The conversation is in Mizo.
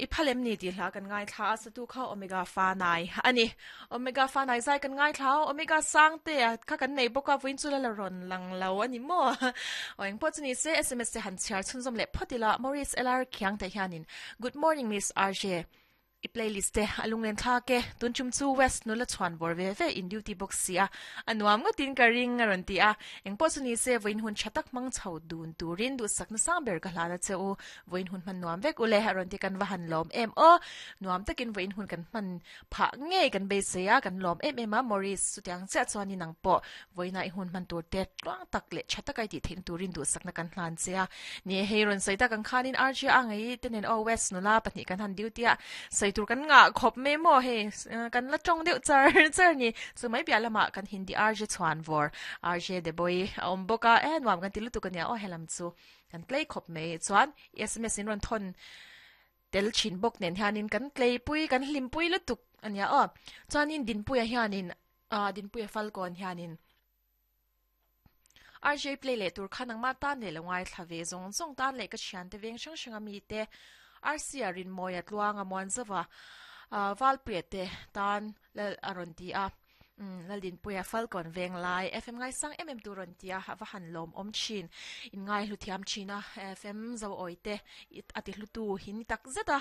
I phal em ni tih hla kan ngaithla a, satu kha Omega Fanai a ni. Omega Fanai zai kan ngaithla a, Omega Sangte a kha kan nei bawk a, vawiin chu la la rawn lang lo a ni maw? Aw engpawh chu ni se, sms te han chhiar chhunzawm leh phawt ila, Maurice LR Khiangte hianin, Good morning Miss RJ. I playlist te a lunglen thlak e, tun chum chu West nula chhuan vawr ve ve in duty bawk si a, a nuam ngawtin ka ring a rawn ti a, engpawh chu ni se vawiin hun tha tak hmang chho dun turin duhsakna sang ber ka hlan a che u, vawiin hun hman nuam vek ule a rawn ti kan va han lawm em aw, nuam takin vawiin hun kan hman phah ngei kan beisei a, kan lawm em em a, Maurice chutiang chiah chuan in ang pawh vawiinah i hun hman tur te tluang tak leh tha taka i tih theihna turin duhsakna kan hlan che a, ni e hei rawn sawi tak ang khanin RJ a ngei te nen aw West nula pahnih kan han duty a, sawi tur kan ngah khawp mai maw hei kan la tawng deuh char char ni, chu mai piah lamah kan Hindi RJ chhuan vawr RJ Deboi a awm bawk a, e nuam kan ti lutuk ania aw helam chu. Kan tlei khawp mai chuan sms in rawn thawn tel thin bawk nen hianin kan tleipui kan hlimpui lutuk a nia aw. Chuanin Dinpuia hianin ah Dinpuia Falkawn hianin RJ play leh tur kha nangmah tan leh lo ngaithla ve zawng zawng tan leh ka thiante veng hrang hrang a mite RC a Rinmawia Tluanga Muanzova ah Valpuia te tan lal a rawn ti a. Umm Laldinpuia Falkawn veng lai FM ngaisang em em tur rawn ti a, a va han lawm awm thin. In ngai hlu thiam thin a, FM zo awi te a ti hlu tu hi ni tak zet a.